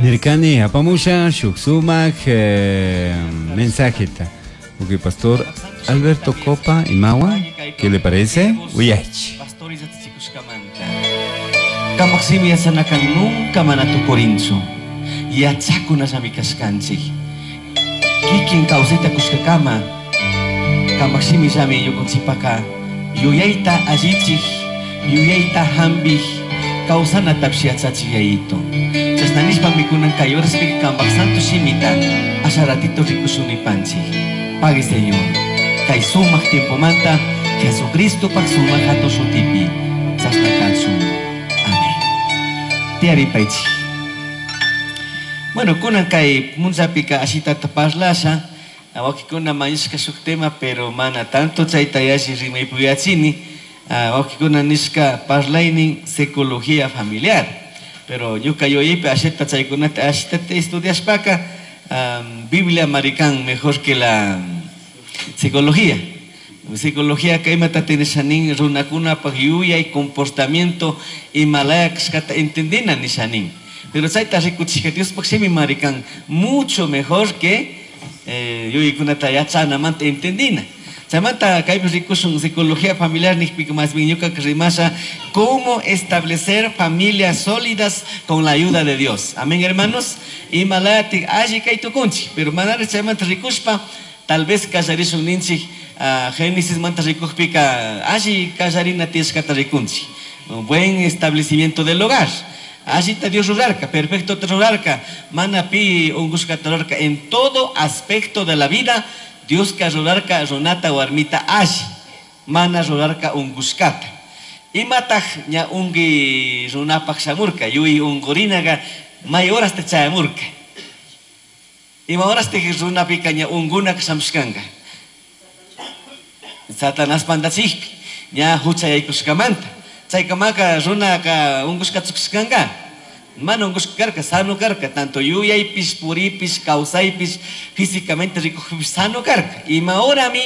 Nirkani apamusha shuk sumak mensajeta. Ok, pastor Alberto Copa imawan, ¿qué le parece? Uyaychi. Cambaj shimi yachanaca nunca mana tucurinchu. Yachacunallami cashcanchij. Kikin causaita cushcacama cambaj shimillami ñucanchijpaca yuyaita allichij, yuyaita jambij, causanatapish yachachij Yayito. Chashna nishpami cunan cai horaspica cambaj santo shimita asha ratito ricushun nipanchij. Pagui Señor, cai sumaj tiempomanta Jesucristopaj sumaj jatun shutipi chashna cachun. Amén. Tiyaripaichij. Bueno, cunan cai punllapica ashitata parlasha, huauquicuna mañashca shuj tema, pero mana tanto chaita yalli rimai puyachini. Huauquicuna nishca parlainin psicología familiar. Pero ñuca yuyaipi ashita chaicunata ashitata estudiashpaca, Biblia marican mejor que la psicología. Psicología ka imata nisha nin runakunapaj yuyay comportamiento imalaya kashkata entendina nisha nin. Pero chayta rikuchishka Diospaj shimi marican mucho mejor que yuyaykunata yachanamanta entendina. Chaymanta kaypi rikushun psicología familiar nijpika más bien ñuka rimasha cómo establecer familias sólidas con la ayuda de Dios. Amén, hermanos. Imalayatik alli kay tukunchik, pero manara chaymanta rikushpa tal vez kallarishun ninchik Génesis manta rikujpika alli kallarina tiyashkata rikunchik. Un buen establecimiento del hogar. Allita Dios rurarka, perfecto te rurarka, mana pi ungushkata rurarka en todo aspecto de la vida. Dios ka rurarka runata warmita alli, mana rurarka ungushkata. Imataj ña ungi runapaj shamurka, yui ungurinaga may horas te chayamurka. Ima horas te runapika ña ungunaka shamushkanga. Satanás pandachikpi, ña hucha yaykushkamanta. Chaykamaka runaka ungushka tsukushkanga. Mana ungushka karka, sano karka, tanto yuyaypish, puripish, kawsaypish, físicamente rikujpish sano karka. Ima horami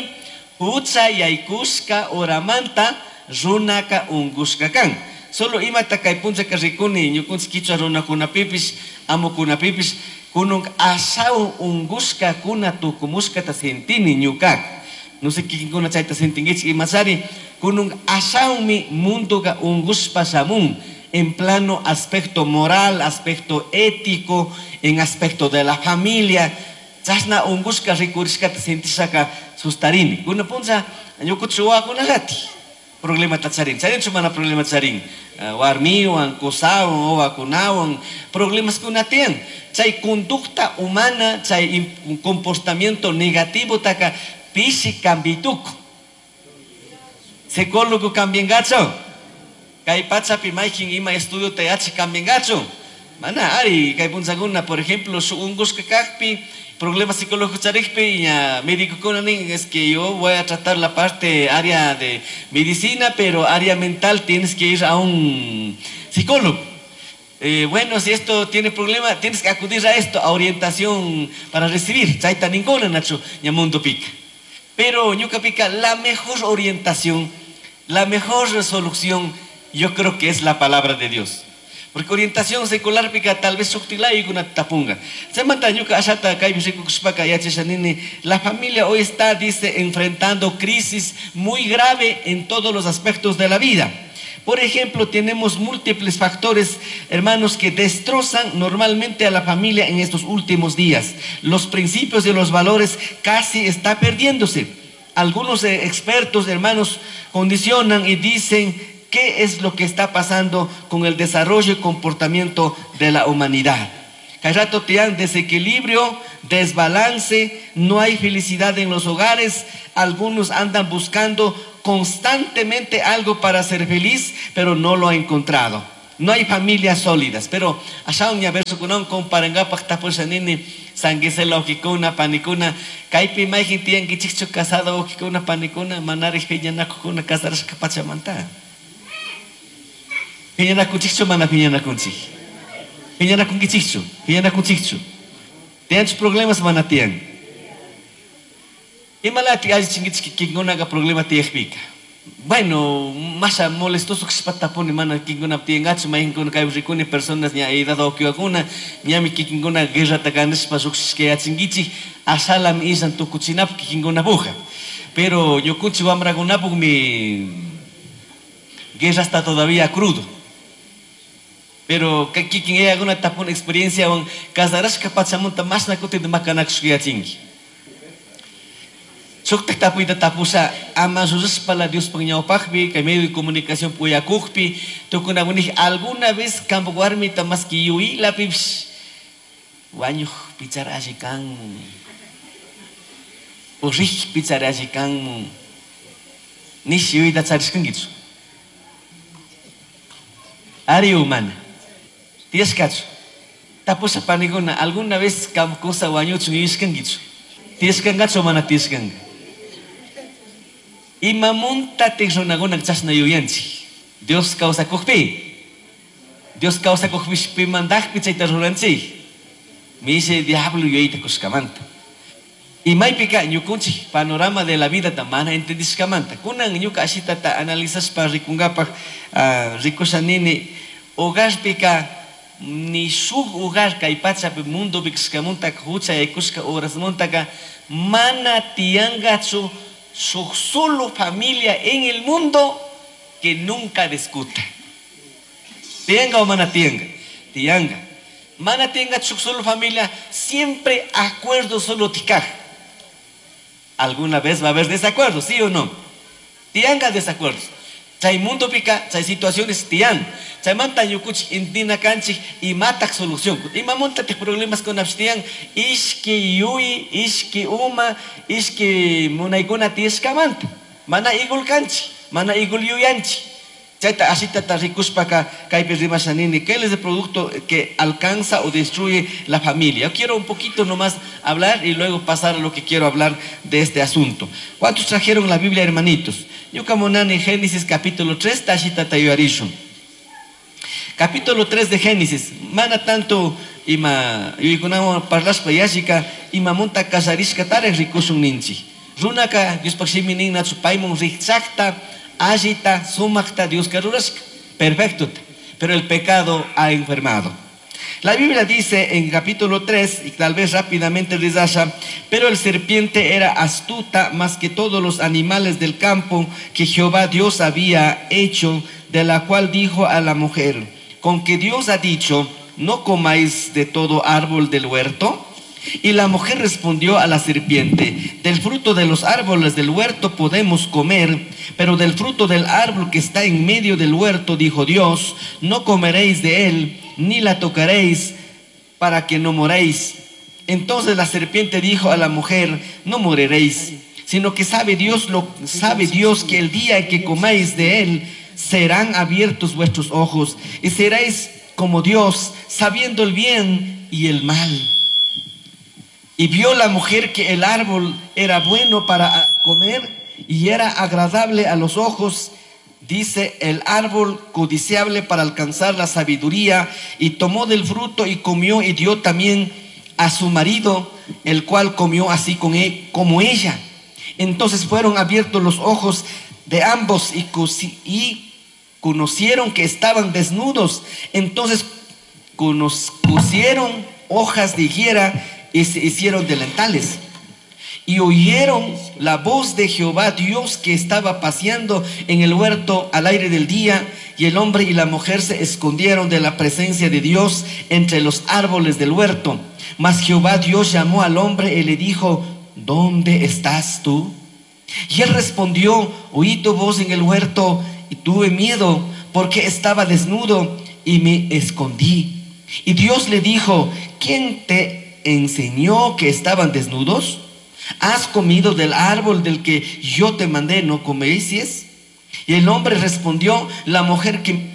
hucha yaykushka horamanta runaka ungushka kan. Solo imata kay punchaka rikuni ñukunchik kichwa runakunapipish, amukunapipish, kunun ashawan ungushka kuna tukumushkata sentini ñukaka. No sé kikinkuna chayta sentinkichik imachari, kunun ashawanmi mundoka ungushpa shamun en plano aspecto moral, aspecto ético, en aspecto de la familia. Chashna ungushka rikurishkata sentishaka sustarini. Kuna puncha ñukuchik wawakunallati problemata charin. Charinchu mana problema charin. Warmiwan, kusawan, wawakunawan, problemas kuna tiyan. Chay conducta humana, chay comportamiento negativo taka pishi cambituku. Psicólogo cambiangachu. Kay pachapi maykin ima estudio ta yachak cambiangachu. Mana ari kay punchakuna, por ejemplo, shuk ungushka kakpi, problema psicológico charikpi, ña médico nin, es que yo voy a tratar la parte área de medicina, pero área mental tienes que ir a un psicólogo. Bueno, si esto tiene problema, tienes que acudir a esto, a orientación para recibir. Chayta ninguna, Nacho, ña mundo pica. Pero ñuka pica, la mejor orientación, la mejor solución, yo creo que es la palabra de Dios. Porque orientación secular pica tal vez shuktilay kuna tapunga. Chaymanta ñuka ashata kaypi rikukushpaka yachasha nini, la familia hoy está, dice, enfrentando crisis muy grave en todos los aspectos de la vida. Por ejemplo, tenemos múltiples factores, hermanos, que destrozan normalmente a la familia en estos últimos días. Los principios y los valores casi está perdiéndose. Algunos expertos, hermanos, condicionan y dicen qué es lo que está pasando con el desarrollo y comportamiento de la humanidad. Kay rato tiyan desequilibrio, desbalance, no hay felicidad en los hogares. Algunos andan buscando constantemente algo para ser feliz, pero no lo ha encontrado. No hay familias sólidas, pero allá un verso con un comparangapaj tapusha nini, sanguisela ojikuna, panikuna, kaypi mayjin tiyan kichikchu casado ojikuna, panikuna, manarij piñanakujuna, casarashka pachamanta. Piñanakunchikchu mana piñanakunchik? Piñanakunkichikchu, piñanakunchikchu. Tiyanchu problemas mana tiyan? Imalati allichinkichik kikinkunaka problema tiyakpika. Bueno, masha molestoso kashpata tapuni mana kikinkuna tiyangachu mayqinkuna kaypi rikuni personas ña edad wakiwakuna ñami kikinkuna guerrata ganashpa lluqshishka yachinkichik ashalami illan tukuchinapuk kikinkunapuja. Pero ñukunchik wamrakunapukmi guerra está todavía crudo. Pero kikin yayakuna tapun experienciawan casarashka pachamunta mashna kutinta makanakushka yachinki. Shuktak tapuyta tapusha ama llullashpala Diospaq ñawpaqpi kay medio de comunicación uyakukpi tukunakunik alguna vez kampak warmita maski yuylapipish wañuq pichar alli kanmun o rik pichar alli kanmun nish yuyta charishkankichu. Ari o mana tiyashkachu. Tapusha panikuna alguna vez kampak kusa wañuchun yuyashkankichu. Tiyashkankachu o mana tiyashkanka. Imamuntatik runakuna chashna yuyanchik. Dios kawsakukpi. Dios kawsakukpish pimantaqpi chayta ruranchik. Mishe diablo yuyayta kushkamanta. Y maypika ñukunchik panorama de la vida ta mana entendishkamanta. Kunan ñuka ashitata analizashpa rikungapak, rikusha nini hogarpika ni shuk hogar kay pachapi mundopi kashkamuntaka hucha yaykushka horasmuntaka mana tiyangachu shuk solo familia en el mundo que nunca discuta. ¿Tianga o mana tianga? Tianga. Mana tianga shuk solo familia, siempre acuerdo solo tikaj. Alguna vez va a haber desacuerdos, ¿sí o no? Tianga desacuerdos. Chay mundo pica, chay situaciones tian. Chay manta ñukuchik intina kanchik y matak solución. Ima montate problemas con abstian, ishki yui, ishki uma, ishki munaykuna tiyashkamanta. Mana igul kanchik, mana igul yuyanchik. Chayta ashitata rikushpaka kaypi rimasha nini, ¿qué es el producto que alcanza o destruye la familia? Yo quiero un poquito nomás hablar y luego pasar a lo que quiero hablar de este asunto. ¿Cuántos trajeron la Biblia, hermanitos? Ñuka munani Génesis capítulo 3, tashitata yuyarishun. Capítulo 3 de Génesis. Mana tanto ima yuykunawan parlashpa yashika, ima munta kasarishka tarej rikushun ninchik. Runaka Diospaq shimi nin nachu paymun rikchakta, allita, sumakta Dios rurashka. Perfecto. Pero el pecado ha enfermado. La Biblia dice en capítulo 3, y tal vez rápidamente rizasha, pero el serpiente era astuta más que todos los animales del campo que Jehová Dios había hecho, de la cual dijo a la mujer, con que Dios ha dicho, no comáis de todo árbol del huerto. Y la mujer respondió a la serpiente, del fruto de los árboles del huerto podemos comer, pero del fruto del árbol que está en medio del huerto, dijo Dios, no comeréis de él, ni la tocaréis, para que no moréis. Entonces la serpiente dijo a la mujer, no moriréis, sino que sabe Dios que el día en que comáis de él, serán abiertos vuestros ojos, y seréis como Dios, sabiendo el bien y el mal. Y vio la mujer que el árbol era bueno para comer y era agradable a los ojos, dice, el árbol codiciable para alcanzar la sabiduría, y tomó del fruto y comió y dio también a su marido, el cual comió así con como ella. Entonces fueron abiertos los ojos de ambos y conocieron que estaban desnudos. Entonces cosieron hojas de higuera y se hicieron delantales. Y oyeron la voz de Jehová Dios que estaba paseando en el huerto al aire del día, y el hombre y la mujer se escondieron de la presencia de Dios entre los árboles del huerto. Mas Jehová Dios llamó al hombre y le dijo, ¿dónde estás tú? Y él respondió, oí tu voz en el huerto y tuve miedo porque estaba desnudo y me escondí. Y Dios le dijo, ¿quién te enseñó que estaban desnudos? ¿Has comido del árbol del que yo te mandé, no coméis? Y el hombre respondió, la mujer que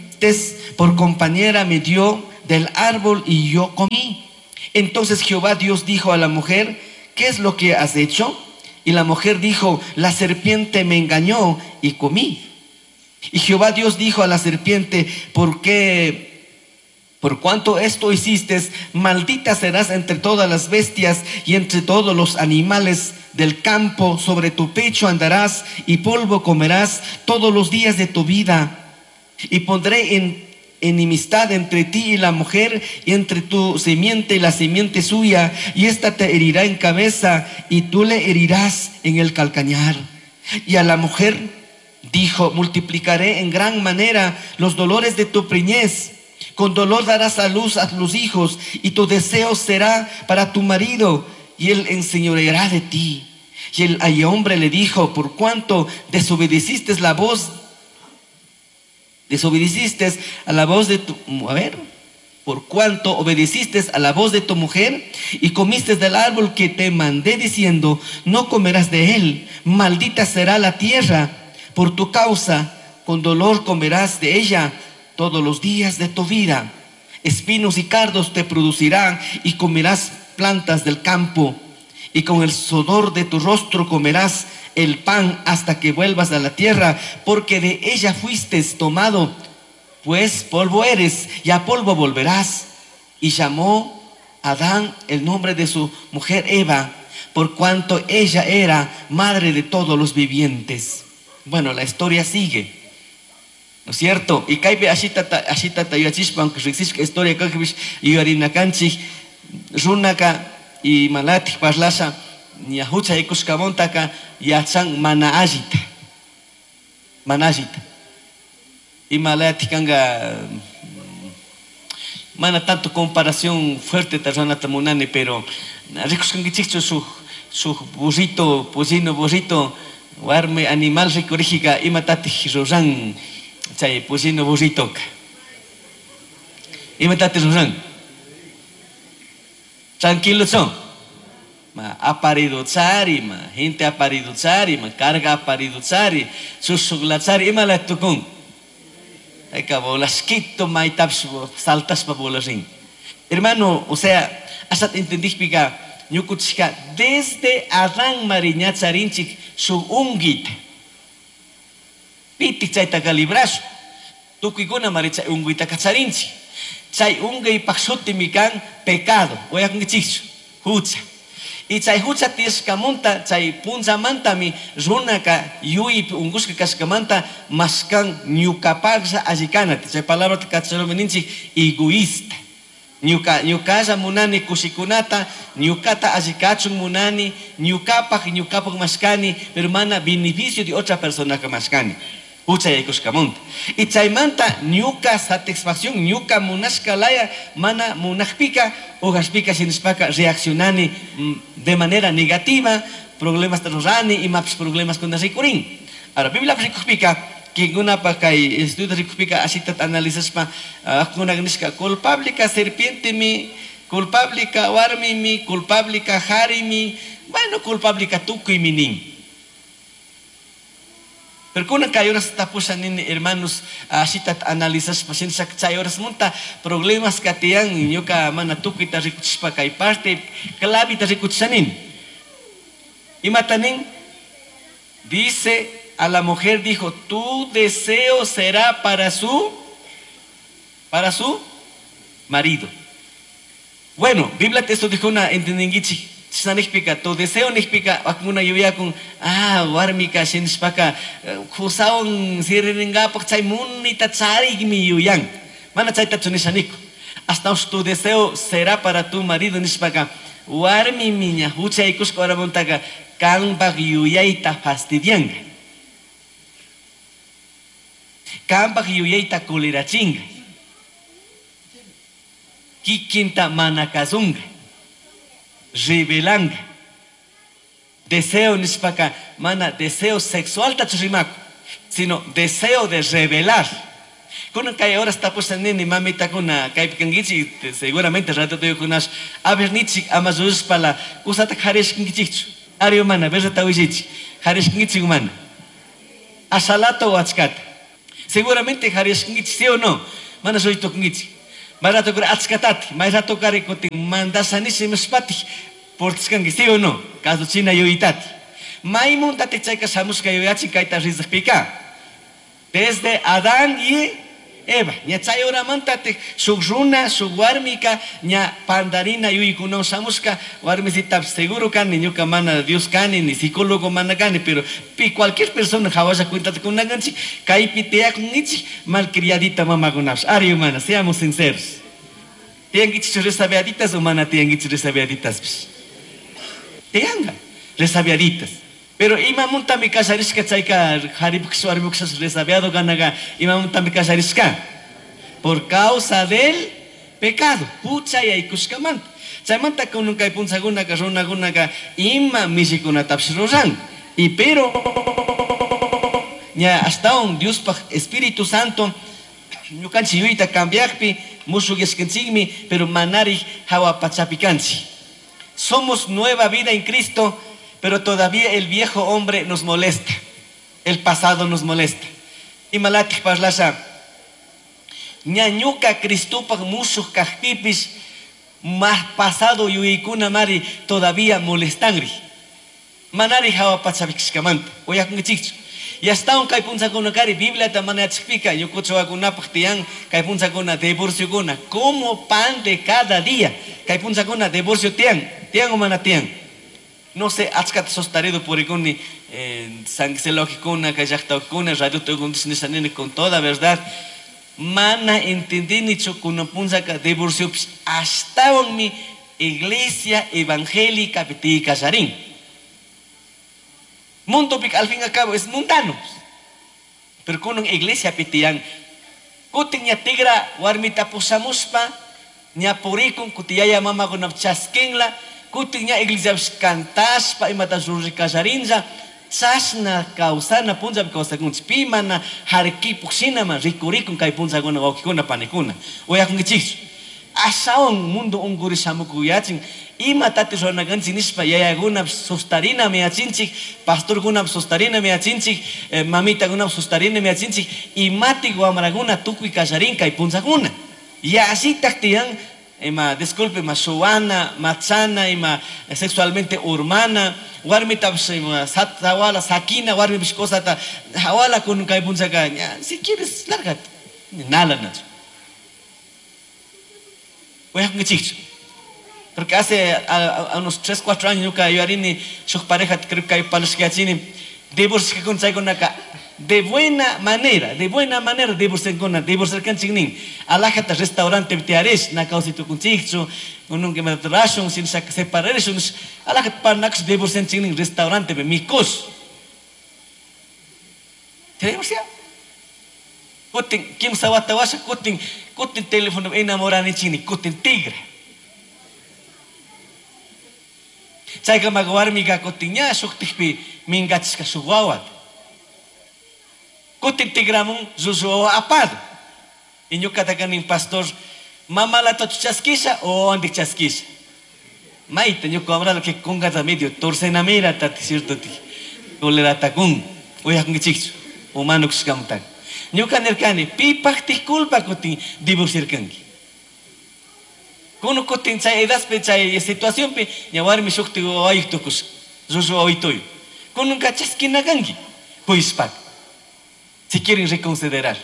por compañera me dio del árbol y yo comí. Entonces Jehová Dios dijo a la mujer, ¿qué es lo que has hecho? Y la mujer dijo, la serpiente me engañó y comí. Y Jehová Dios dijo a la serpiente, ¿por qué Por cuanto esto hiciste, maldita serás entre todas las bestias y entre todos los animales del campo. Sobre tu pecho andarás y polvo comerás todos los días de tu vida. Y pondré en enemistad entre ti y la mujer, y entre tu simiente y la simiente suya, y ésta te herirá en cabeza, y tú le herirás en el calcañar. Y a la mujer dijo: multiplicaré en gran manera los dolores de tu preñez. Con dolor darás a luz a los hijos, y tu deseo será para tu marido, y él enseñoreará de ti. Y el hombre le dijo: por cuanto desobedeciste la voz, desobedeciste a la voz de tu, a ver, por cuanto obedeciste a la voz de tu mujer y comiste del árbol que te mandé diciendo: no comerás de él, maldita será la tierra por tu causa, con dolor comerás de ella todos los días de tu vida. Espinos y cardos te producirán y comerás plantas del campo, y con el sudor de tu rostro comerás el pan hasta que vuelvas a la tierra, porque de ella fuiste tomado, pues polvo eres y a polvo volverás. Y llamó Adán el nombre de su mujer Eva, por cuanto ella era madre de todos los vivientes. Bueno, la historia sigue, ¿no es cierto? Y kaypi ashitata ashitata yachishpa, aunque riqsishka historia kajpish yuyarinakanchik, runaka y malatik parlasha ña huchaykushkamuntaka yachan mana allita, mana allita. Imalatik kanka, mana tanto comparación fuerte ta runata munani, pero rikushkankichikchu shuk shuk burrito, pollino burrito, warmi animal rikurijika imatatik ruran chay pollino burritoka. Imatatik ruran? Tranquilo son. Ma aparido tsari, ma gente aparido tsari, ma carga aparido tsari, susuglachari, ima la tukun. Ayka bolasquito, maitaps saltaspa bolarin. Hermano, o sea, hasta entendí pica, ñukuchika, desde Adán mariñacharinchik su ungita. Pitik chayta calibrazo. Tukuykuna maricha unguita kacharinchik. Chay ungay pakshuti mikan pecado. Oyakunkichikchu, hucha. Y chay hucha tiyashkamanta, chay punzamantami runaka yuypi ungushka kashkamanta maskan ñukapaklla allikanata. Chay palabrata kacharumi ninchik egoísta. Ñuka, ñukalla munani kushikunata, ñukata allikachun munani, ñukapak, ñukapak mashkani, pero mana beneficio de otra persona que mashkani. Hucha yaykushkamunta. Y chaymanta ñuka satisfacción, ñuka munashka laya, mana munajpika, ujashpika shinishpaka reaccionani de manera negativa, problemas rurani, imapis problemas kuna rikurin. Ahora, Biblia rikujpika, kikunapa kay estudio rikujpika, asita analizashpa, kuna nishka, culpable ka serpiente mi, culpable ka warmi mi, culpable ka jari mi, bueno, culpable ka tukuy mi nin. Pero kuna kay horas tapusha nini, hermanos, asita analizashpa, shinshak chay horas munta, problemas katiyan, ñuka mana tukuyta rikuchishpa kay parte, clavita rikuchisha nin. Imata nin, dice a la mujer, dijo, tu deseo será para su marido. Bueno, Biblia esto dijo una entendingichi. Chisnanijpika, tu deseo nijpika, wakuna yuyakun, ah, warmika, shinishpaka, kusawan siriringapak, chay munita charigmi yuyan. Mana chayta chunishaniko. Hasta tu deseo será para tu marido nishpaka, warmi miña, huchaykushka oramuntaka, kanpak yuyayta fastidianga. Kanpak yuyayta kulirachinga. Kikinta manakazunga. Revelanga. Deseo nishpaka, mana deseo sexual tachurimaku, sino deseo de revelar. Kuna kay horas tapusa nini mamita kuna kay pikangichi, seguramente rato te kunas a ver nichi amazus pala kusata harishkingichichu. Ari humana, versa tawishichi. Harishkingichi humana. Asalato wachkata. Seguramente harishkingichi, sí o no. Mana soy tokingichi. Marato kura atskatati, mayrato kare kutin mandasanisi mispati, portiskangi, sí o no. Caso china yoitati. Maimun tate chayka shamushka yoyachi kayta rizaqpika. Desde Adán y Eva. Ña chay horamantatik shuk runa, shuk warmika ña pandarina yuyaykunawan shamushka warmisita seguro kani ñuka mana Dios kani ni psicólogo mana kani, pero pi cualquier persona hawalla cuentata kunakanchik kaypi tiyakunichik malcriadita mamakunapish. Ari humana, seamos sinceros. Tiyankichik resabiaditas o mana tiyankichik resabiaditaspish. Tiyanga resabiaditas. Pero imamuntami kasharishka chayka haripuksh warmipuksh resabiado kanaga imamuntami kasharishka por causa del pecado, hucha yaykushkamanta. Chaymanta kunan kay punchakunaka runakunaka ima mishikunatapish ruran. Y pero ña ashtawan Diospaj Espíritu Santo ñukanchik yuyayta cambiakpi mushukyashkanchikmi, pero manarij hawa pachapi kanchik. Somos nueva vida en Cristo, pero todavía el viejo hombre nos molesta. El pasado nos molesta. Imalatik parlasha, ña ñuka Cristopaj mushuk kajpipish, más pasado yuyaykuna mari todavía molestanri. Manari hawa pachapi kashkamanta. Uyakunkichikchu. Y hasta kay punchakuna kari Bibliata mana yachakpika ñukuchawakunapaj tiyan kay punchakuna divorciokuna como pan de cada día. Kay punchakuna divorcio tiyan, tiyan o mana tiyan. No sé, achkata sostarido purikuni, sanguiselogikuna, kay llaqtawakuna, radio tukuntis con toda verdad. Mana entendinichu kunan punchaka divorciopish ashtawanmi iglesia evangélica pitikallarin. Mundo pik al fin y al cabo es mundano. Pero kunan iglesia pitiyan kutin ña tigra warmita pusamuspa ña purikun kutiyaya mamakuna chaskinla kutin ña iglesia cantaspa imata rurikallarinlla chashna kawsana punllapi kawsakunchik pi mana harkipuk shinama rikurikun kay punllakuna wawqikuna panikuna uyakunkichikchu ashawan mundo unkuri shamukuyachin imatati ruranakanchik nishpa yayakunapish sustarinami yachinchik pastorkunapish sustarinami yachinchik mamitakunapish sustarinami yachinchik imatik wamrakuna tukuy kallarin kay punllakuna yallitak tiyan ima disculpe ima shuwana machana ima sexualmente urmana warmitapish ima hawala sakina warmipish cosata hawala kun kay punllaka ña si quieres lárgate nala nachu uyakunkichikchu. Porque hace a unos 3, 4 años ñuka yuyarini shuk pareja creo que palashkachini divorciakun chaykunaka de buena manera divorciakuna divorciarkanchik nin alajata restaurante tiyarish na kawsaytukunchikchu nunca imatata rashun sino separarishun alajata parnakush divorcianchik nin restaurante mikush se divorcia kutin kimsa wata washa kutin kutin teléfono enamoranichik nin kutin tigra. Chaykamaka warmika kutin ña shuktikpi minkachishka shuk wawata. Kutin tigramun llullu wawa apado. Y ñukataka nin pastor, mamalatachu chaskisha o wawantik chaskisha. Mayta ñuka wamrala que kunkata medio torcenamira tati cierto ti coleratакun uyakunkichikchu humano kushkamutaka. Ñuka nirkani pipaktik culpa kutin divorciarkanki. Kuno kutin chay edadpi chay situacionpi ña warmi shukti wawayuq tukush llullu wawituyu. Kununka chaskinakanki kuyshpaka. Si quieren reconsiderar.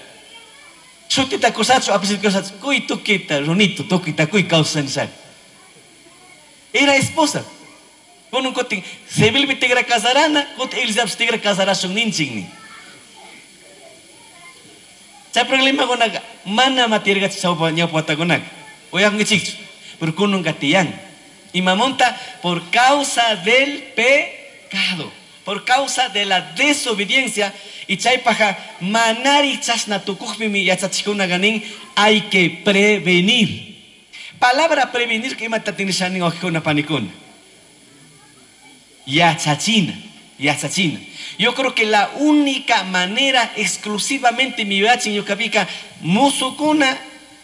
Shutita kusachu apellido kusachu kuy tukita runito tukita kuy kawsanishaka. Era esposa. Kunun kutin civilpi tigra casarana kutin iglesiapish tigra casarashun ninchik nin. Chay problemakunaka mana matirkachu chawpa ñawpa watakunaka. Uyakunkichikchu. Pero kununka tiyan. Imamunta por causa del pecado, por causa de la desobediencia y chaypaja manari chashna tukukpimi yachachikuna nin hay que prevenir. Palabra prevenir que imata tinishanin wawqikuna panikuna. Yachachina, yachachina. Yo creo que la única manera exclusivamente mi yachin ñukapika musukuna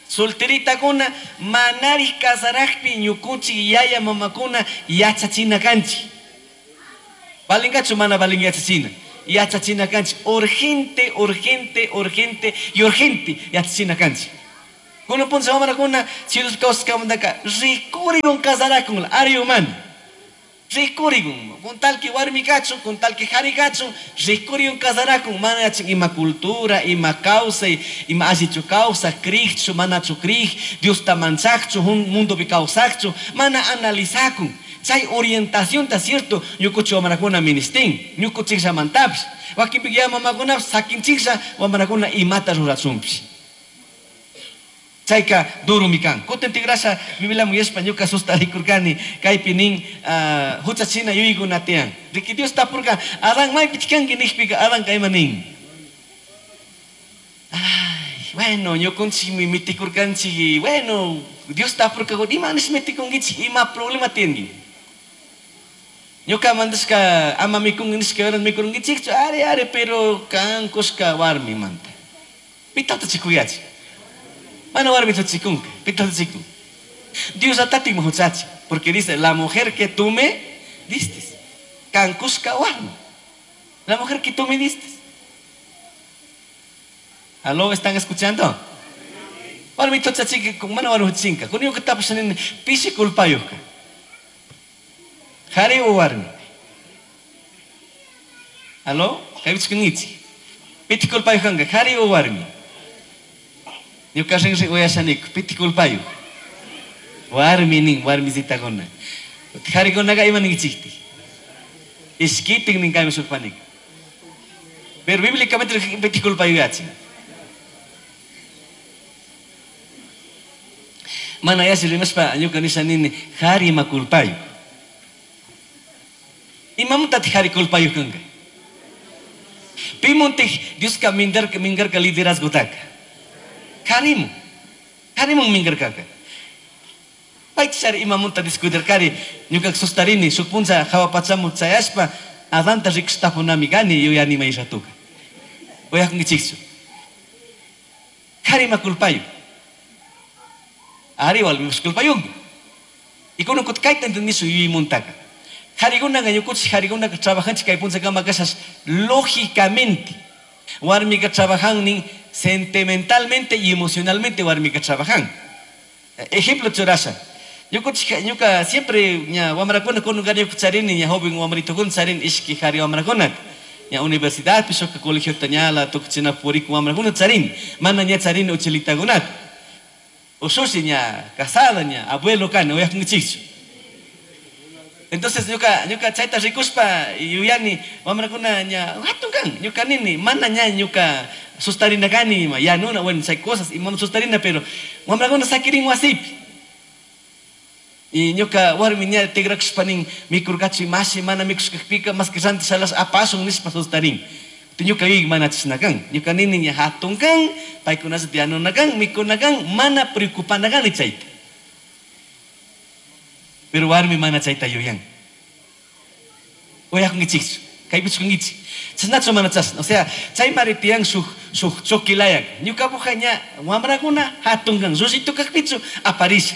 solteritakuna manari kasarajpi ñukunchik yaya mamakuna yachachina kanchik. Valingachu mana valin yachachina. Yachachina kanchik urgente, urgente, urgente y urgente yachachina kanchik. Kunan puncha wamrakuna chirus kawsaskamantaka rikurikun kasarakun ari humana. Rikurigun, con tal que warmi kachun, con tal que jari kachun, rikurigun kasarakun, mana yachin ima cultura, ima kawsay, ima allichu kawsaj, krikchu, manachu krik, Diosta manchakchu, mundopi kawsakchu, mana analizakun. Chay orientación ta cierto, ñukuchi wamrakuna ministin, ñukuchikllamantapish. Wakinpika ya mamakunapish sakinchiklla wamrakuna imata rurachunpish. Chayka durumi kan. Kutin tigrasha Bibliaman yashpa ñuka sustarikurkani, kaypi nin, huchachina yuyaykuna tiyan. Riki Dios tapurka, Adán maypichik kanki nijpika Adánka ima nin? Ay, bueno, ñukunchikmi mitikurkanchik, bueno, Dios tapurka, ima nish mitikunkichik, ima problema tiyanki? Ñuka mandashka ama mikunki nishka horas mikurunkichikchu, ari, ari, pero kan kushka warmimanta. Pitata chikuyachi. Mana warmita chikunka, pitata chikun. Dios atatik huchachi, porque dice, la mujer que tú me diste. Kan kushka warmi. La mujer que tú me diste. ¿Aló? ¿Están escuchando? Warmita chachika, con mana warmi huchinka. Kun ñuka tapasha nini, pishi culpayuhka. Jari o warmi? ¿Aló? Kaypichka nichi. Piti culpayuhkanka, jari o warmi? Ñuka rinri uyashaniku, piti culpayuh. Warmi nin, warmisitakuna. Jarikunaqa ima ninkichiktik? Ishkitin nin kaymi shukpanik. Pero bíblicamente piti culpayuhachin. Mana yasi rimashpa ñuka nisha nini, jari ima culpayuh. Imamantataq jari culpayuh kanka? Pimuntik Dioska mingarka liderazgotaka. Jarimu. Jarimun mingarkaka. Paychari imamunta descuidarkari, ñuka sustarini, shuk puncha hawa pachamu chayashpa, Adanta rikushtapunami kani yuyani may ratuka. Uyakunkichikchu. Jarima culpayuh. Ari warmipish culpayuhmi. Y kunan kutin kayta entendishu yuyaymuntaka. Jarikunaka ñukunchik jarikunaka trabajanchik kay punchakama kashash lógicamente. Warmika trabajan nin sentimentalmente y emocionalmente warmika trabajan. Ejemplo churasha. Ñukunchik ñuka siempre ña wamrakuna kunan ñuka charini ña joven wamritukuna charini ishki jari wamrakunata. Ña universidad pishoka colegiota ñala tukuchina puriku wamrakuna charini. Mana ña charini uchilitakunata. Ushushi ña casada ña abuelo kani uyakunkichikchu. Entonces ñuka chayta rikushpa yuyani wamrakuna ña hatun kan ñuka nini mana ña ñuka sustarina kani ima ya nuna bueno chay cosas imam sustarina pero wamrakuna sakirin wasipi. Y ñuka warmi ña tigrakushpa nin mikurkachu mashi mana mikushkakpika más que ranti salas apasun nishpa sustarin. Ñuka yuyay mana chashna kan ñuka nini ña hatun kan paykunata yanuna kan mikuna kan mana preocupana kani chayta. Pero warmi mana chayta yuyan. Uyakunkichikchu, kaypichkunkichik. Chashnachu mana chashna. O sea, chay mari tiyan shuk chokilayak. Ñukapuja ña wamrakuna hatun kan llullito kakpichu aparisha.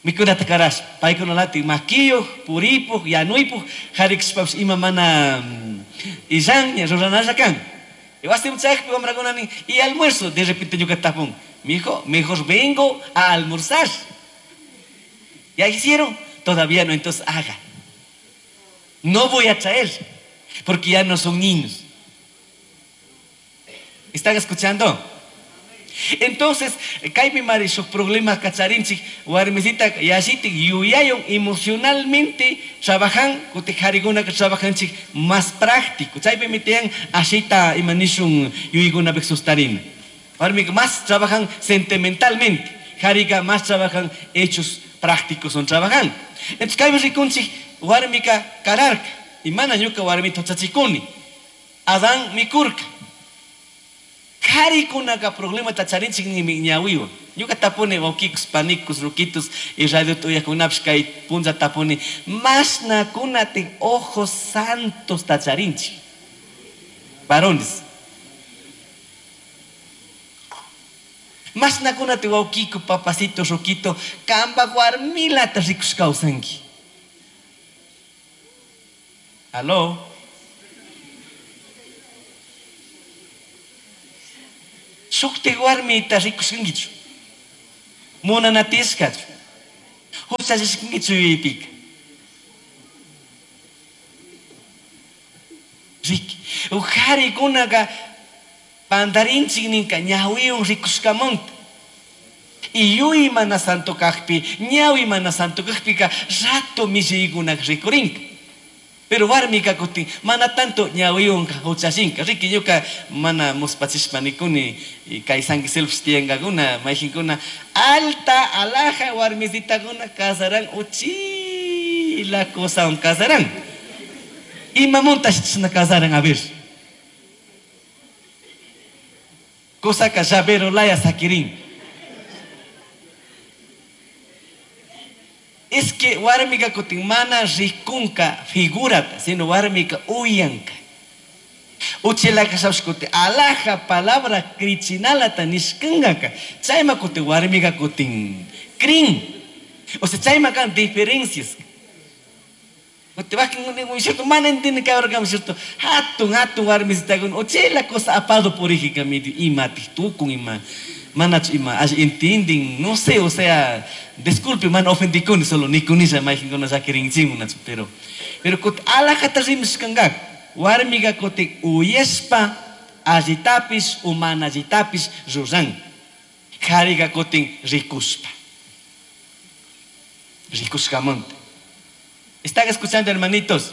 Mikunata karasha. Paykuna lati makiyuj, puripuj, yanuypuj, jarikshpapish ima mana illan ña ruranalla kan. Y wasiman chayakpi wamrakuna nin, y almuerzo, de repente ñuka tapun. Mijo, mejor vengo a almorzar. ¿Ya hicieron? Todavía no, entonces haga. No voy a traer, porque ya no son niños. ¿Están escuchando? Entonces, kaypi mari shuk problema kacharinchik, warmisita yashitik yuyayun emocionalmente trabajan, kutik jarikuna que trabajanchik más práctico. Chaypi mitian ashita imanishun yuyaykunapik sustarina. Warmika más trabajan sentimentalmente, jarika más trabajan hechos prácticos son trabajan. Entonces, kaypi rikunchik warmika kararka, y mana ñuka warmita huchachikuni. Adán mikurka. Jarikunaka problema tacharinchik ni ñawiwan. Ñuka tapuni wawkikus, panikus, rukitus y radio tuyakunapish kay punlla tapuni mashnakunatik ojos santos tacharinchik. Varones. Mashnakunati wawkiku, papacito, ruquito, kamba warmilata rikush kawsanki. Aló. Shukti warmita rikushkankichu. Munanatishkachu. Huchallishkankichu yuyaypika. Riki. Ujarikunaqa pandarinchik ninka ñawiwan rikushkamanta. Y yuy mana santo kajpi, ñawi mana santo kajpika rato millaykunak rikurinka. Pero warmika kutin mana tanto ñawiwan huchashinka. Riki ñuka mana muspachishpa nikuni kay San Giselpis tiyankakuna mayjinkuna alta alaja warmisitakuna kasaran uchila qosawan kasaran. Imamuntash chashna kasaran a ver. Qusaka llavero laya sakirin. Es que warmika kutin mana rikunka figurata, sino warmika uyanka. Uchila kashapash kutin alaja palabra krichinalata nishkankaka. Chayma kutin warmika kutin krin. O sea, chayma kan diferencias. Kutin wakin cierto, mana entiende cabrón, cierto, hatun hatun warmisitakuna uchila cosa apado purijika medio ima tukun ima manachu ima alli entienden, no sé, o sea, disculpe, mana ofendikuni, solo nikunisha mayjinkuna llakirinchikkunachu, pero kutin alajata rimashkankaka, warmika kutin uyashpa allitapish o mana allitapish ruran, karika kutin rikushpa, rikushkamanta. ¿Están escuchando, hermanitos?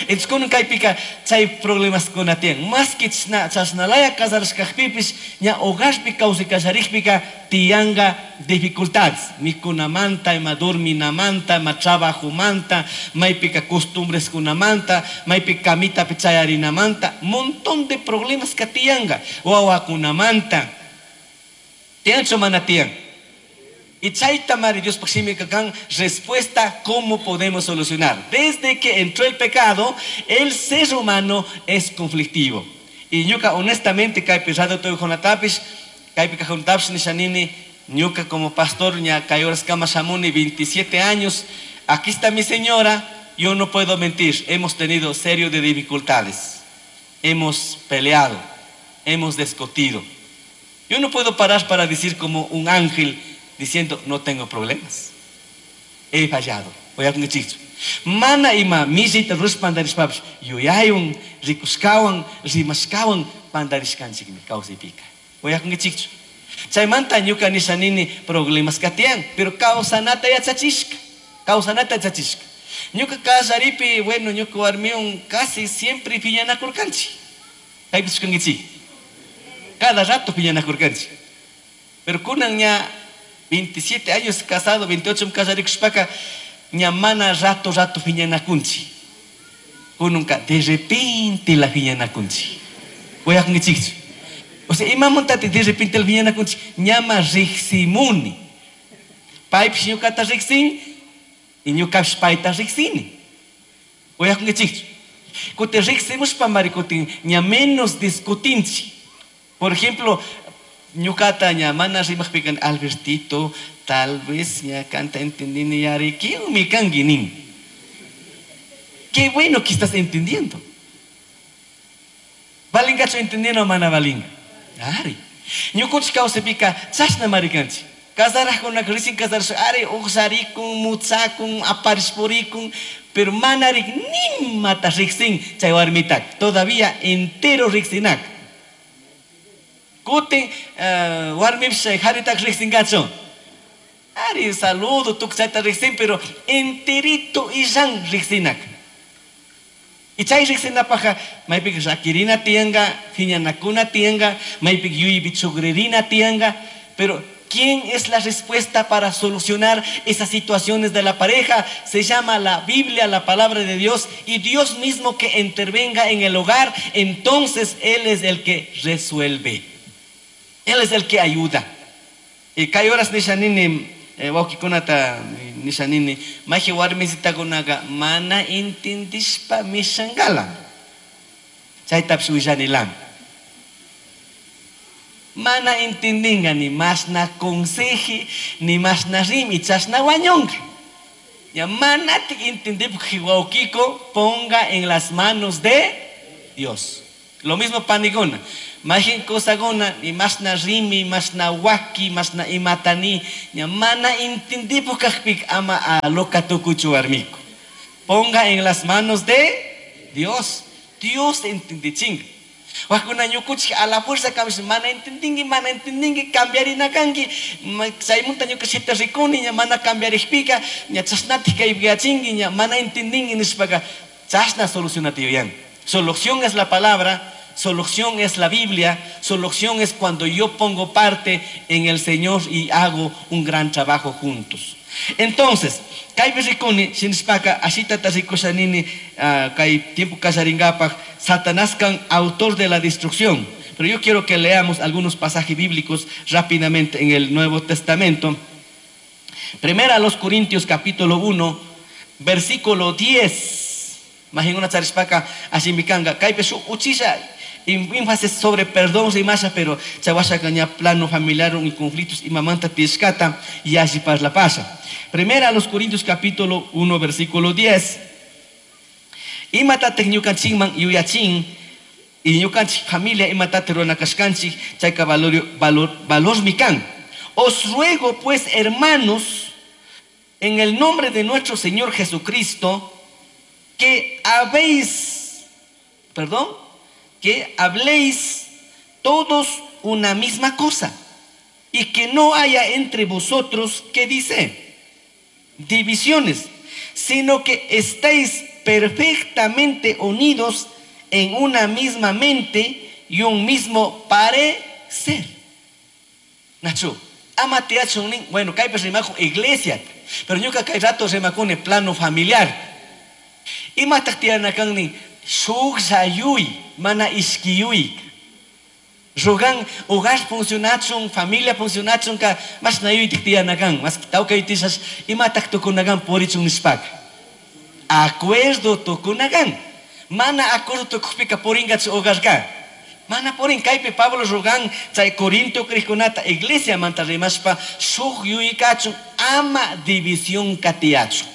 Entonces, kunan kaypika chay problemas kuna tiyan. Más que chashnalaya kasarashkajpipish, ña hogarpi kawsay tiyanga dificultades. Mikunamanta, ima dorminamanta, ima trabajomanta, maypika costumbreskunamanta, maypika kamitapi chayarinamanta, montón de problemas que tiyanga. Wawakunamanta. Tiyanchu mana tiyan? Y chayta mari Diospaj shimika kan respuesta cómo podemos solucionar. Desde que entró el pecado, el ser humano es conflictivo. Y ñuka honestamente kaypi radio toy jonatapish, kaypi kajuntapis nishanini, ñuka como pastor ña kay horas kama shamuni 27 años, aquí está mi señora, yo no puedo mentir, hemos tenido serio de dificultades. Hemos peleado, hemos discutido. Yo no puedo parar para decir como un ángel diciendo no tengo problemas. He fallado. Voy a decir, mana ima misita ruspandarishpapish yuyaywan rikushkawan rimashkawan pandarishkanchikmi kawsaypika. Voy a decir, chaymanta ñuka nishanini problemas katiyan, pero kawsanata yachachishka, kawsanata yachachishka. Ñuka kallaripi, bueno, ñuka warmiwan casi siempre piñanakurkanchik. Kaypichu kankichik? Cada rato piñanakurkanchik. Pero kunan ña 27 años casado, 28 kasarikushpaka, ña mana rato rato piñanakunchik. Kununka de repente la piñanakunchik. Uyakunkichikchu? O sea, imamantati de repente la piñanakunchik, ñama riqsimuni. Paypish ñukata riqsin y ñukapish payta riqsini. Uyakunkichikchu? Kutin riqsimushpa mari kutin ña menos discutinchik. Por ejemplo, ñukata ña mana rimaqpika Albertito, tal vez ña kanta entendini yari, ¿quién kanki nin? Qué bueno que estás entendiendo. Valingachu entendiendo mana valinga? Ari. Ñukunchik kawsaypika chashna marikanchik. Kasarajkunaka recién kasarashpa, ari uqsharikun, mutsakun, aparishpurikun, pero mana rik nimata riqsin chay warmitaka. Todavía entero riqsinak. Kutin, warmipish haritaka riqsinkachu. Ari saludo tukuy chayta riqsin, pero enterito illan riqsinak. Y chay riqsinapajqa maypika llakirina tiyanka, phiñanakuna tiyanka, maypika yuyaypi chukririna tiyanka, pero ¿quién es la respuesta para solucionar esas situaciones de la pareja? Se llama la Biblia, la palabra de Dios, y Dios mismo que intervenga en el hogar, entonces Él es el que resuelve. Él es el que ayuda. Y kay horas nishanini, wawqikunata nishanini, mayji warmisitakunaka mana intindishpa mishankala. Chaytapish willanilan. Mana intindinga ni masna conseji, ni masna rimi, chashna wañunga. Ya manati intendipaj wawqiko, ponga en las manos de Dios. Lo mismo panikuna. Majin kosakuna, ni masna rimi, masna waki, masna imatani, ña mana intendipaj kajpik ama a loka tukuchu warmiku. Ponga en las manos de Dios. Dios entendichinga. Wakuna ñukuchik a la fuerza cambias, mana entendingi, cambiarina kanki, chaymunta ñuka shita rikuni, ña mana cambiarikpika, ña chashnatik kaypiyachinki, ña mana entendingi nishpaka, chashna solucionati yuyan. Solución es la palabra, solución es la Biblia, solución es cuando yo pongo parte en el Señor y hago un gran trabajo juntos. Entonces, kaypi rikuni, shinishpaka, ashitata rikusha nini, kay tiempo kallaringapaj, Satanás kan autor de la destrucción. Pero yo quiero que leamos algunos pasajes bíblicos rápidamente en el Nuevo Testamento. Primera a los Corintios capítulo 1, versículo 10. Imagina una charishpaka, ashimikanga, kaypi shu uchilla, énfasis sobre perdón y masa, pero chawasha caña plano familiar y conflictos y mamanta tiscata y así para la pasa. Primera a los Corintios capítulo 1 versículo 10. Imata ñukanchikman yuyachin y ñukanchik familia imata ruranakashkanchik chayka valor mikan. Os ruego pues, hermanos, en el nombre de nuestro Señor Jesucristo, que habéis, perdón, que habléis todos una misma cosa y que no haya entre vosotros, ¿qué dice? Divisiones, sino que estéis perfectamente unidos en una misma mente y un mismo parecer. Nacho, amate hacho un nin, bueno, kaypi rimakun iglesia, pero ñuka kay rato rimakuni plano familiar. Imataq tiyanakan nin? Shuk sayuy, mana ishkiyuy. Rogan, hogar funcionachun, familia funcionachun, ka mas nayuytik tiyanakan, mas tawkaytisas, imataq tukunakan purichun nishpaka. Acuerdo tukunakan. Mana acuerdo tukupika puringachu hogarka. Mana purin, kaypi Pablo rogan, chay Corinto krikunata, iglesia manta rimashpa, shuk yuykachun, ama división katiachun.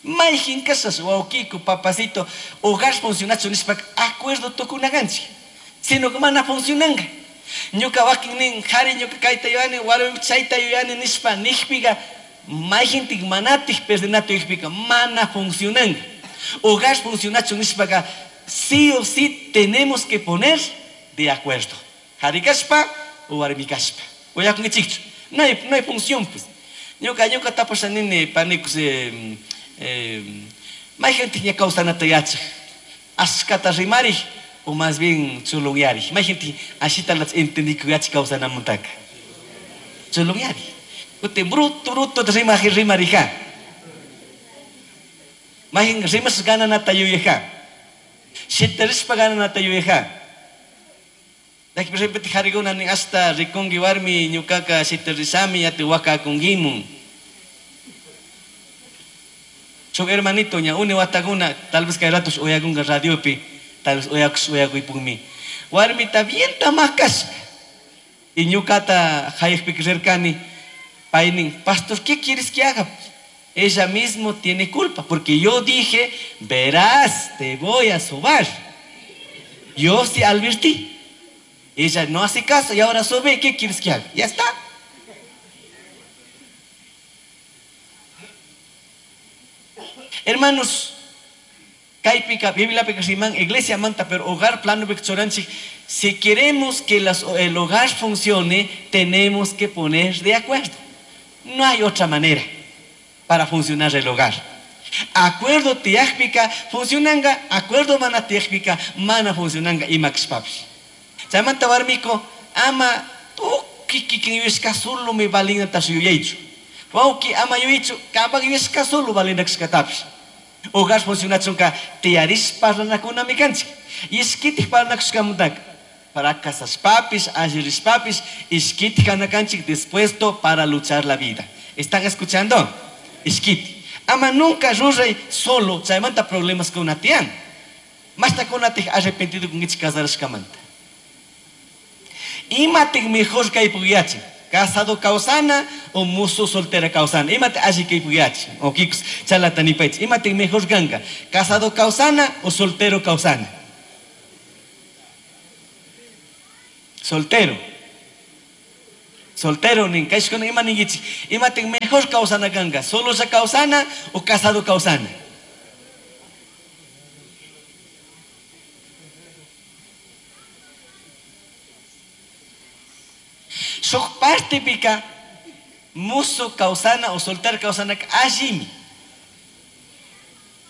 Mayjin kasas, wawkiku, papacito, hogar funcionachu nishpa, acuerdo tukunakanchik. Sino que mana funcionanga. Ñuka wakin nin, jari ñuka kayta yuyani, warmi chayta yuyani nishpa, nijpiga, mayjintik manatik perdenato nijpiga, mana funcionanga. Hogar funcionachu nishpaga, sí o sí tenemos que poner de acuerdo. Jari kashpa o warmi kashpa. Oyakunkichikchu. No hay función, pues. Ñuka, ñuka tapasha nini, panikus, mayjintik ña kawsanata yachaj. Ashkata rimarij o más bien chulungyarij. Mayjintik ashita las entendí que yachaj kawsanamantaka. Chulungyarij. Ute bruto, bruto rimaj, rimarija. Mayjin rimas gananata yuyaja. Shitarispa gananata yuyaja. Daki por ejemplo, jariguna ni hasta rikungi warmi ñukaka shitarisami yate wakakungimun. Shuk hermanito ña une wataguna, tal vez kay ratos oyagunga radiopi, tal vez oyakus oyakuypukmi. Warmita bien tamakashka. Y ñukata hayakpi rirkani, paynin, pastor, ¿qué quieres que haga? Ella mismo tiene culpa, porque yo dije, verás, te voy a sobar. Yo sí advertí. Ella no hace caso y ahora sobe, ¿qué quieres que haga? Ya está. Hermanos, kaypika, Biblia pika riman, iglesia manta, pero hogar plano choranchik, si queremos que el hogar funcione, tenemos que poner de acuerdo. No hay otra manera para funcionar el hogar. Acuerdo tiajpika funcionanga, acuerdo mana tiajpika mana funcionanga imaxpapis. Chaymanta warmiko, ama tuki kikin yuyashka solo mi balina tasuyuyaychu. Wauki ama yuyaychu, kapak yuyashka solo balina kashkatapish. Hogar funcionachunka tiyarish parlanakuna mikanchik. Ishkitik parlanakushkamantaka. Para casaspapis, allirispapis, ishkitik kanakanchik dispuesto para luchar la vida. ¿Están escuchando? Ishkiti. Ama nunca ruray solo, chaymanta problemas con una tian. Masta con una arrepentido con ich casarashkamanta. Imatik mejor kaypuyachi. Casado causana o muso soltera causana. Imate así kaypuyachi. O kikus chalatanipaich. Imatik mejor ganga. Casado causana o soltero causana. Soltero. Soltero nin kashkuna ima ningichi. Imatik mejor causana ganga. Solo sa causana o casado causana. Partepika musu kawsana o soltero kawsanaka allimi.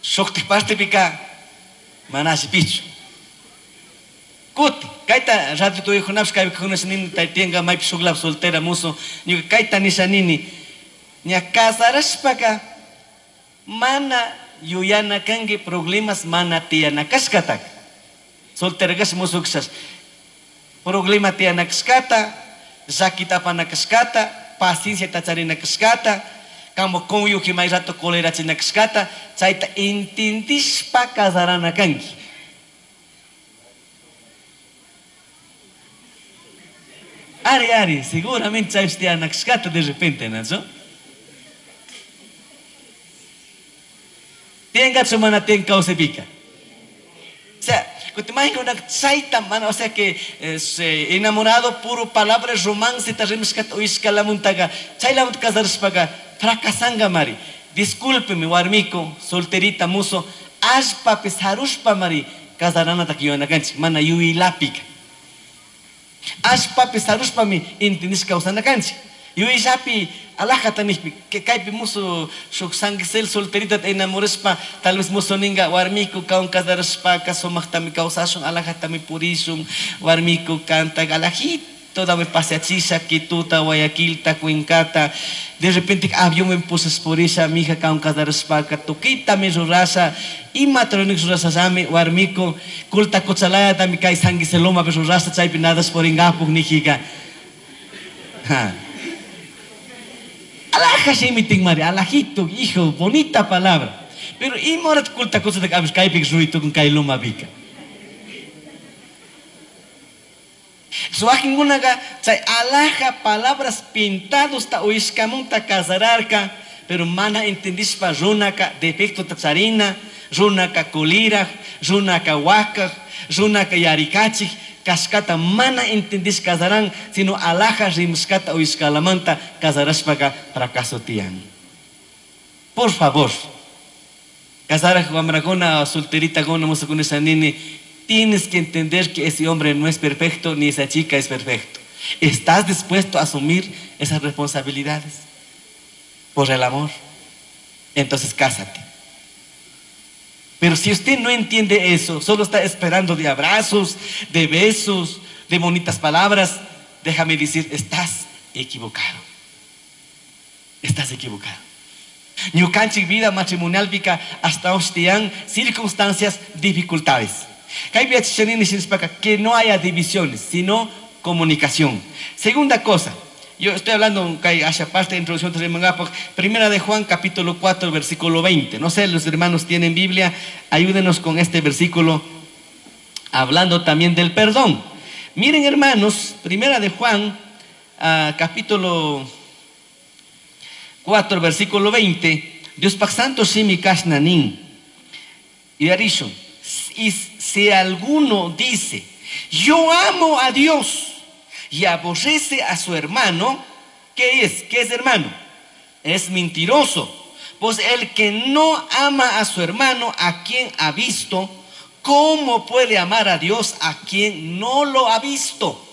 Shuktik partepika mana allipichu. Kuti, kayta radio tuyukunapish kaypi nini taytinka maypi shuklap soltera musu, ñuka kayta nisha nini, ña casarashpaka mana yuyana kanki problemas mana tiyana kashkataka. Soltera kash musu kashash problema tiyana kashkata, llakita apana kashkata, paciencia charina kashkata, kamo cónyuge may rato colerachina kashkata, chayta intindishpa casarana kanki. Ari, ari, seguramente chaypish tiyana kashkata de repente, ¿no? Tiyankachu mana tiyan kawsaypika. O sea, chayta mana, o sea que enamorado puro palabras romance ta rimashkata uyashkalamuntaka chaylamunta casarashpaka fracasanga mari. Discúlpeme warmiko, solterita muso, allpapi sarushpa mari casaranataka yuyanakanchik, mana yuylapika. Allpapi sarushpami intindishka kawsanakanchik. Yuyllapi alajata nijpi, kaypi musu shuk sanguisel solterita enamorashpa, tal vez musu ninga warmiku kawan casarashpaka sumaqtami kawsashun, alajatami purishun, warmiku kanta alajito dame paseachisha, Quituta, Guayaquilta, Cuencata, de repente avión me pusas purisha, mija kawan casarashpaka, tukitami rurasha, ima tronik rurashallami, warmiku, kulta kochalaya tami kay sanguiseloma rurasha, chaypi nadas poringapuk nijika. Ha. Alaja shimitin mari, alajito, hijo, bonita palabra. Pero imorat kulta cosa de kabis kaypik ruitu con kay loma pika. Suakingunaga chay alaja palabras pintados ta uishkamunta casararka, pero mana entendishpa runaka defecto ta charina, runaka kuliraj, runaka wakaj, runaka yarikachik, kashkata mana entendish casaran, sino alaja rimshkata uishkalamanta casarashpaka fracaso tiyan. Por favor, casaraj wamrakuna, solterita gona, musakuna shanini, tienes que entender que ese hombre no es perfecto, ni esa chica es perfecto. ¿Estás dispuesto a asumir esas responsabilidades por el amor? Entonces cásate. Pero si usted no entiende eso, solo está esperando de abrazos, de besos, de bonitas palabras, déjame decir, estás equivocado. Estás equivocado. Ñukanchik vida matrimonial pika hasta hostian circunstancias, dificultades. Que no haya divisiones, sino comunicación. Segunda cosa, yo estoy hablando, hacia parte de introducción, Primera de Juan, capítulo 4, versículo 20. No sé, los hermanos tienen Biblia, ayúdenos con este versículo, hablando también del perdón. Miren, hermanos, Primera de Juan, capítulo 4, versículo 20. Dios Santo shimi kashnanin. Y arisho, y si alguno dice, yo amo a Dios y aborrece a su hermano, ¿qué es? ¿Qué es hermano? Es mentiroso. Pues el que no ama a su hermano, a quien ha visto, ¿cómo puede amar a Dios a quien no lo ha visto?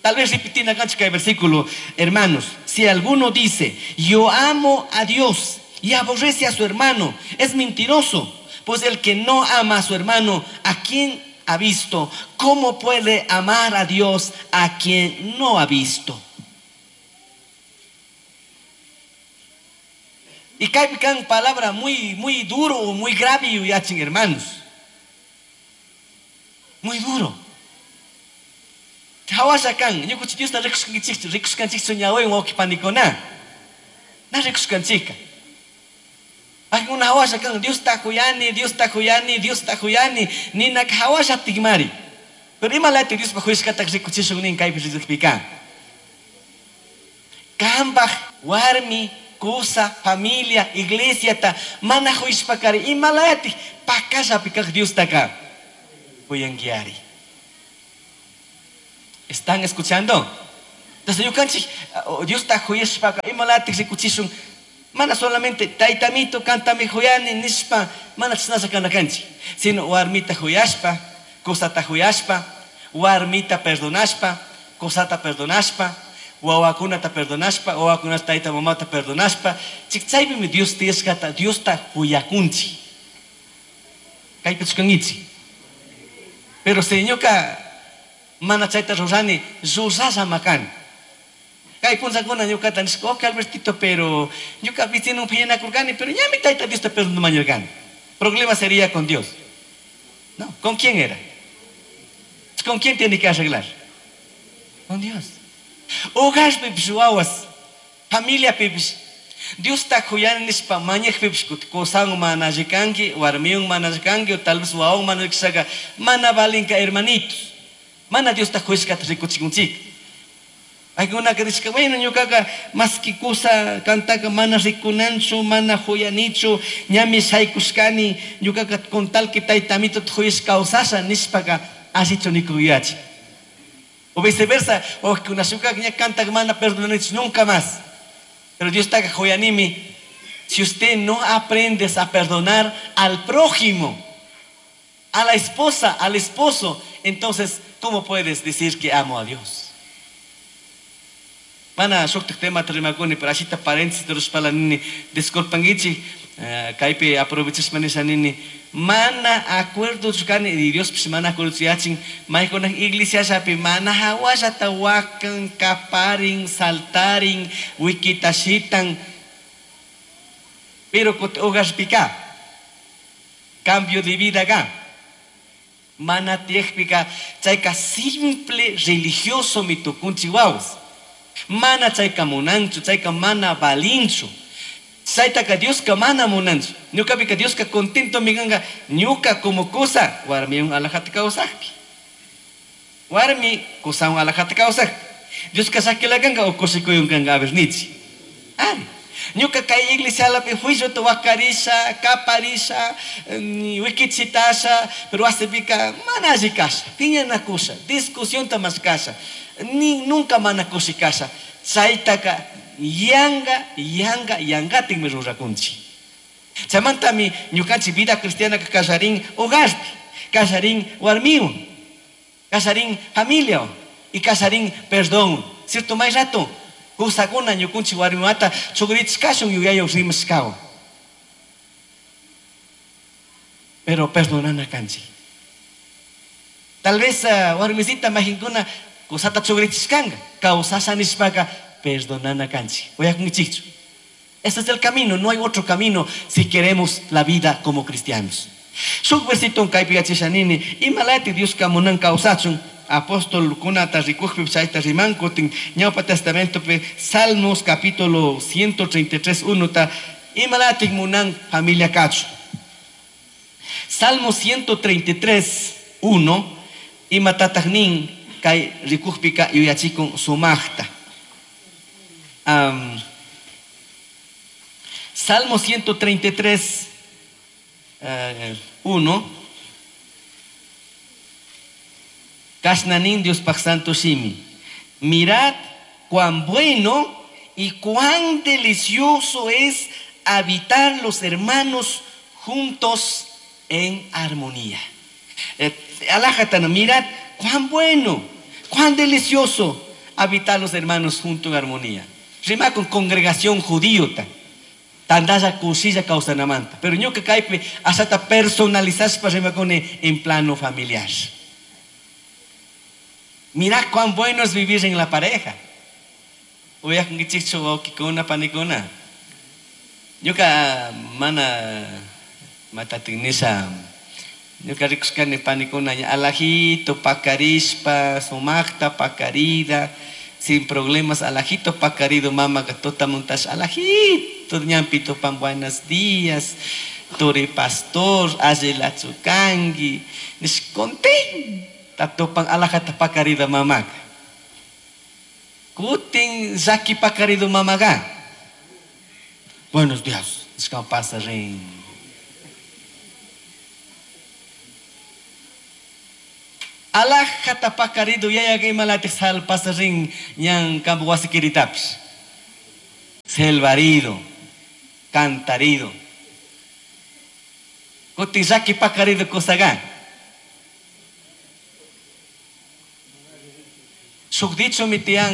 Tal vez repetir acá el versículo, hermanos, si alguno dice, yo amo a Dios y aborrece a su hermano, es mentiroso. Pues el que no ama a su hermano, a quien ha visto, ¿cómo puede amar a Dios a quien no ha visto? Y cae palabra muy, muy duro, muy grave, yachin, hermanos. Muy duro. Hawashakan, ñukuchi Diosta rikuskanchik, rikuskanchik ñawi wakipanikuna. Na rikuskanchika. Una hawashakan, Dios ta huyani, Dios ta huyani, Dios ta huyani, nina hawasha tigmari. Pero imalati Dios pa huyshkata rikuchishun nin kaypi rikpika. Kambaj, warmi, kusa, familia, iglesia ta mana huyshpakari imalati pakasha pikaj Dios taka huyanguiari. ¿Están escuchando? Entonces yukanchik Dios ta huyshpaka imalati rikuchishun. Mana solamente taitamito cantami huyani nishpa mana chisnasha kanakanchik, sino warmita huyashpa, kusata huyashpa, warmita perdonashpa, Cosata perdonashpa, wawakunata perdonashpa, wawakunata tayta mamata perdonashpa, chaypimi Dios tiyashkata, Diosta huyakunchik. Kaypi chukankichik. Pero si ñuka mana chayta rurani, rurashama kani. Kay punllakuna ñukata nishka, ok Albertito, pero ñuka vecino phiñanakurkani, pero ñami tayta Diosta perdonañarkani. Problema sería con Dios. No, ¿con quién era? ¿Con quién tiene que arreglar? Con Dios. Hogarpipish wawas, familiapipish, Diosta kuyani nishpa mañajpipish kusan mana alli warmiwan mana alli o tal vez wawan mana alli mana valinka hermanitos. Mana Diosta kuyashkata rikuchikunchik. Aykunaka nishka, bueno, ñukaka maski kusa kantaka mana rikunanchu, mana huyanichu, ñami shaykushkani, ñukaka con tal que tayta amito huyashka kawsasha nishpaka allichu nikuyachi. O viceversa, o kunashukaka ña kantaka mana perdonanichu nunca más. Pero Dios está huyanimi. Si usted no aprendes a perdonar al prójimo, a la esposa, al esposo, entonces, ¿cómo puedes decir que amo a Dios? Mana shuktak tema rimakuni, pero ashita paréntesis rushpala nini, disculpangichi, kaypi aprovechashpa nisha nini, mana acuerdo chukani, y Dios pues mana acuerdo yachin, maykuna iglesiashapi mana hawallata wakan, kaparin, saltarin, wikitashitan, pero hogarpika, cambio de vida acá. Mana tiyakpika, chayka simple religioso mitukunchi wawas. Mana chayka munanchu, chayka mana valinchu. Chaytaka Dioska mana munanchu. Ñukapika Dioska contento miganga, ñuka como cosa, warmiwan alajata kawsakpi. Warmi kusawan alajata kawsakpi. Dioska sakilakanga o kushikuyunkanga a ver nichi. Ari. Ñuka kay iglesialapi juiciota wakarisha, kaparisha, wikichitasha, pero wasipika mana alli kasha, piñanakusha, discusionta mashkasha, ni nunca mana kushikasha. Chaytaka yanga, yanga, yangatinmi rurakunchik. Chaymantami ñukanchik vida cristiana kallarin hogarpi, kallarin warmiwan, kallarin familiawan y kallarin perdón. Cierto, may rato kusakuna ñukunchik warmiwata chugrichkashun yuyayaw rimashkawan. Pero perdonana kanchik. Tal vez warmisita majinkuna kusata chugrichishkanga, kawsasha nishpaka perdonana kanchik. Uyakunkichikchu. Ese es el camino, no hay otro camino si queremos la vida como cristianos. Shuk versito kaypi yachasha nini, imalati Dioska munan kawsachun, apóstol kunata rikujpi chayta rimankutin, Ñawpa Testamentopi, Salmos capítulo 133, 1 ta, imalati munan familia kachun. Salmo 133, 1, imatataq nin kay rikujpika yuyachikun sumaqta. Salmo 133, 1. Kashna nin Diospaj Santo Shimi. Mirad cuán bueno y cuán delicioso es habitar los hermanos juntos en armonía. Alájatana, mirad cuán bueno, cuán delicioso habitar los hermanos juntos en armonía. Rima con congregación judíota. Tandalla kusilla kawsanamanta. Pero ñuka kaypi ashata personalizashpa rimakuni en plano familiar. Mira cuán bueno es vivir en la pareja. Uyakunkichikchu wawqikuna panikuna. Ñuka mana matatin nisha. Ñuka rikushkani panikuna alajito pakarishpa, sumaqta pakarida, sin problemas, alajito pakarido mama tota montash alajito ñampi tupan buenos días, turi pastor, allilachukanki, nish contenta tupan alajata pakarida mamaka. Kutin llaki pakarido mamaga. Buenos días, nishka pasa rin. Alajata pakarido yaya imalatik sal pasa rin ñan kampu wasi kiritapis. Selvarido, cantarido. Kutin llaki pakarido kusaga. Shuk dichomi tiyan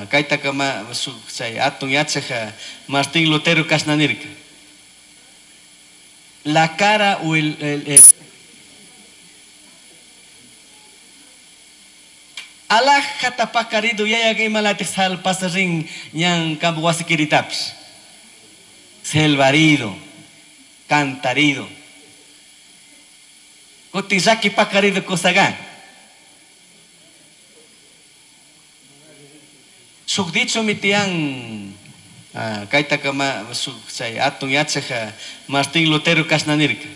kaytaka shuk chay atun yachaj Martín Lutero kashna nirka. La cara o el alajata pakarido yayaga imalatik salpasarin ñan kampu wasikiritapis. Selvarido, cantarido. Kutin llaki pakarido kusaga. Shuk dichomi tiyan kaytaka shuk chay atun yachaj Martín Lutero kashna nirka.